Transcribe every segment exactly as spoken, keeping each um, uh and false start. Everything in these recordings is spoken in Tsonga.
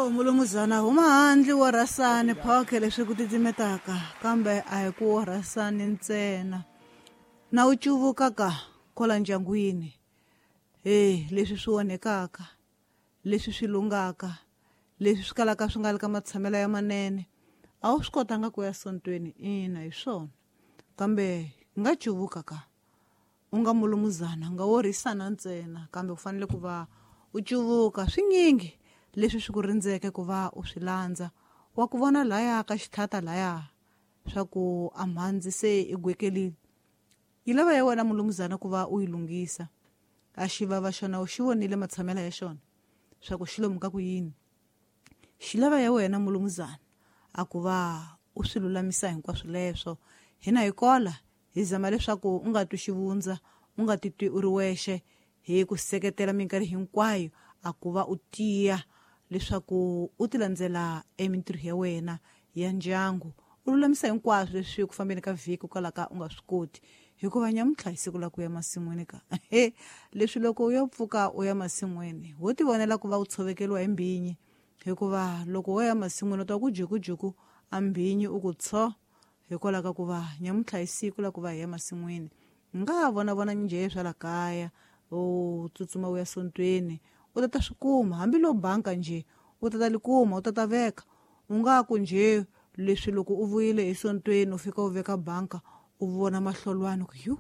Oh mulumuzana huma handle wo rhasani phokhe leswi ku titimetaka kambe a hi ku wo rhasani ntsena na u cuvuka ka kwala ndyangwini eh leswi swi onhekaka leswi swi lungaka leswi swi kalaka swi nga le ka matshamelo ya manene a wu swi kotanga ku ya sontweni ina hi swona kambe nga cuvuka ka u nga mulumuzana nga wo rhisana ntsena kambe u fanele ku va u cuvuka swinyingi leswi swi ku rindzeke ku va u swi landza wa ku vona laya ka xitlhata laya swa ku a mhandzi se i gwekelile yi lava ya wena mulumuzana ku va u yi lunghisa a xivava xona u xi vonile matshamelo ya xona swa ku xi lomu ka ku yini xi lava ya wena mulumuzana a ku va u swi lulamisa hinkwaswo leswo hina hi kola hi zama leswaku u nga twi xivundza u nga titwi u ri wexe hi ku seketela minkarhi hinkwayo a ku va u tiya leswaku u ti landzela emintirho ya wena ya ndyangu u lulamisa hinkwaswo leswi ku fambeni ka vhiki kwalaka u nga swi koti hikuva nyamuntlha hi siku la ku ya masin'wini ka leswi loko u ya pfuka u ya masin'wini wo ti vonela ku va u tshovekeriwa hi mbhinyi hikuva loko wo ya masin'wini u ta ku jukujuku a mbhinyi u ku tsho hikwalaho ka ku va nyamuntlha hi siku la ku va hi ya masin'wini nga ha vona vona njhe swa la kaya u tsutsuma u ya sontweni u ta ta swi kuma hambiloko banka njhe u ta ta li kuma u ta ta veka u nga ku njhe leswi loko u vuyile esontweni u fika u veka banka u vona mahlolwani ku yu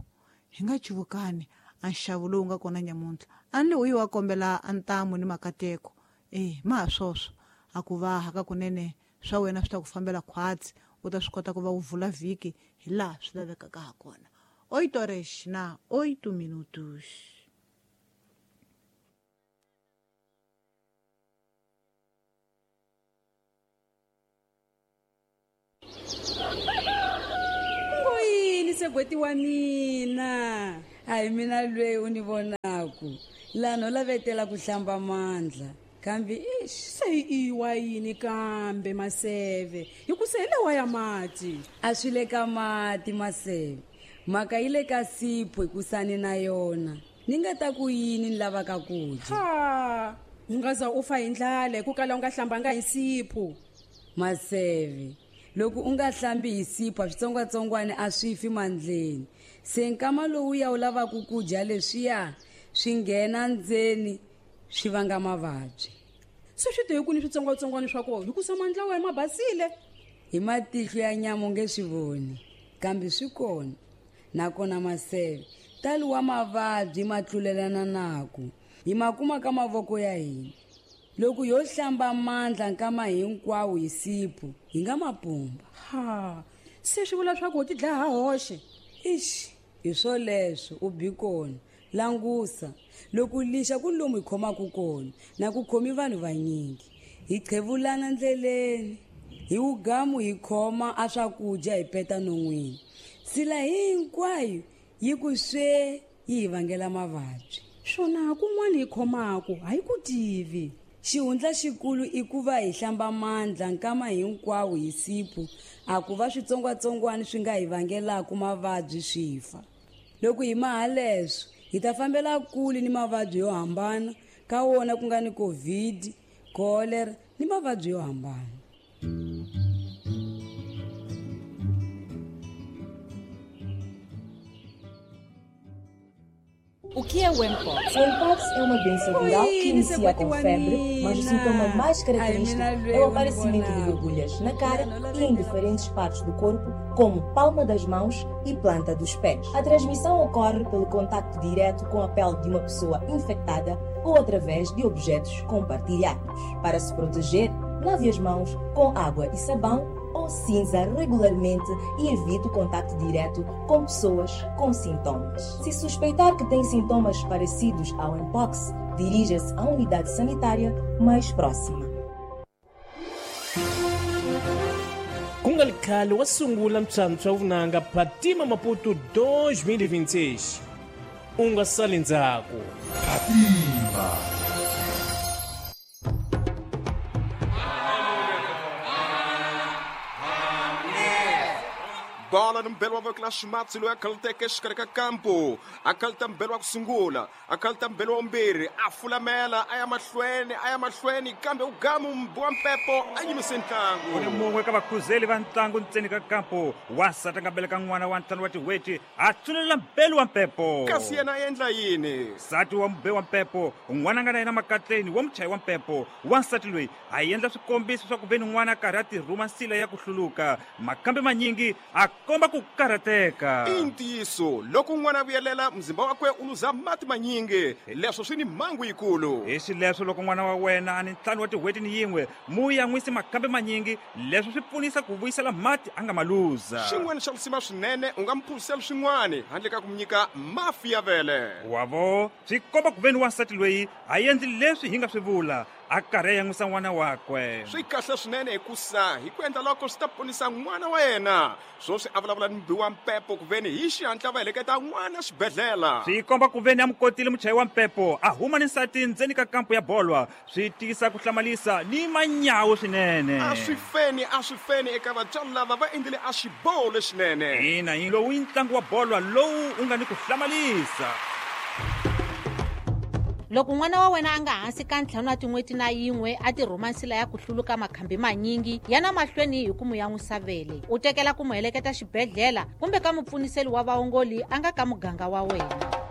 hi nga cuvukani a nxavo lowu nga kona nyamuntlha a ni u yi wa kombela a ntamu ni makateko eh ma ha swoswo a ku va haka kunene swa wena swi ta ku fambela khwatsi u ta swi kota ku va u vula vhiki hi laha swi lavekaka ha kona oito horas na oito minutos. Ngoyini segweti wa mina a hi mina lweyi u ni vonaku lano lavetela ku hlamba mandla kambe ix se i wa yini kambe maseve hi ku se hi lewa ya mati a swi le ka mati maseve mhaka yi le ka sipho hikusani na yona ni nga ta ku yini ni lavaka ku dya ha u nga za u fa hi ndlala hi ku kala u nga hlambanga hi sipho maseve loko u nga hlambi hi sipho switsongwatsongwana a swi fi mandleni se nkama lowu ya u lavaka ku dya leswiya swi nghena ndzeni swi vanga mavabyi se swi te hi ku ni switsongwatsongwana swa kona hi ku sa mandla wa ma basile hi matihlo ya nyama u nge swi voni kambe swi kona nakona maseve tali wa mavabyi ma tlulelana naku hi ma kuma ka mavoko ya hina loko yo hlamba mandla nkama hinkwawo hi sipho hi nga mapumba ha se swi vula swa ku u ti dlaya ha hoxe ix hi swoleswo u bi kona langusa loko lixa ku lomu hi khomaka kona na ku khomi vanhu vanyingi hi qhevulana ndleleni hi wugamu hi khoma a swakudya hi peta non'wini sila hinkwayo yi ku swe yi hi vangela mavabyi swona kun'wana hi khomaka a hi ku tivi xihundla xikulu i ku va hi hlamba mandla nkama hinkwawo hi sipho a ku va switsongwatsongwana swi nga hi vangelaka mavabyi swi fa loko hi maha leswo hi ta fambela kule ni mavabyi yo hambana ka wona ku nga ni COVID cholera ni mavabyi yo hambana. O que é o Mpox? O Mpox é uma doença viral que inicia com febre, mas o sintoma mais característico é o aparecimento de borbulhas na cara e em diferentes partes do corpo, como palma das mãos e planta dos pés. A transmissão ocorre pelo contacto direto com a pele de uma pessoa infectada ou através de objetos compartilhados. Para se proteger, lave as mãos com água e sabão ou cinza regularmente e evite o contato direto com pessoas com sintomas. Se suspeitar que tem sintomas parecidos ao Mpox, dirija-se à unidade sanitária mais próxima. Ku nga ri khale wa sungula ntswantswa vunanga Phatima Maputo dois mil e vinte e seis. U nga sali ndzhaku. Phatima. Bola ni mbelo wa voko la ximatsi loyi a khaluteke exikarhi ka kampo. A khaluta mbelo wa ku sungula, a khaluta mbelo wa vumbirhi, a fulamela a ya mahlweni, a ya mahlweni kambe u gamu mbi wa mpepo a yimise ntlangu. U ni mun'we ka vakhuzeli va ntlangu ntseni ka kampo. Wansati a nga beleka n'wana wa ntlhanu wa tin'hweti a tsunelela mbelo wa mpepo. Kasi yena a endla yini? Nsati wa mube wa mpepo, n'wana a nga na yena makatleni wa muchayi wa mpepo. Wansati loyi a endla swikombiso swa ku ve ni n'wana a karhi a tirhuma nsila ya ku hluluka. Makambe manyingi a komba ku karhateka. I ntiyiso, loko n'wana a vuyelela muzimba wakwe u luza mati manyingi, leswo swi ni mhangu yikulu. Hi xileswo loko n'wana wa wena a ni ntlhanu wa tin'hweti ni yin'we, mu yan'wisi makambe manyingi, leswo swi pfunisa ku vuyisela mati a nga ma luza. Xin'wana xa lisima swinene, u nga mu phuzisela swin'wana handle ka ku mu nyika mafi ya vele. Wavo, swi komba ku ve ni wansati loyi a endli leswi hi nga swi vula, a karhi a yan'wisa n'wana wakwe. Swi kahle swinene hikusa hi ku endla loko swi ta ponisa n'wana wa yena. Swoswi a vulavula ni mubi wa mpepo ku veni hi xihatla va heleketa n'wana xibedhlele. Swi komba ku veni a mu kotile muchayi wa mpepo a huma ni nsati ndzeni ka kampo ya bolwa. Swi tiyisa ku hlamalisa ni manyawu swinene. A swi feni, a swi feni eka vatswari lava va endlile a xiboho lexinene. Ina, lowu i ntlangu wa bolwa lowu u nga ni ku hlamalisa. Loko n'wana wa wena a nga hansi ka ntlhanu wa tin'hweti na yin'we a tirhuma nsila ya ku hluluka makhambi manyingi, yana mahlweni hi ku mu yan'wisa vele. U tekela ku mu heleketa xibedhlele kumbe ka mupfuniseli wa vaongoli a nga ka muganga wa wena.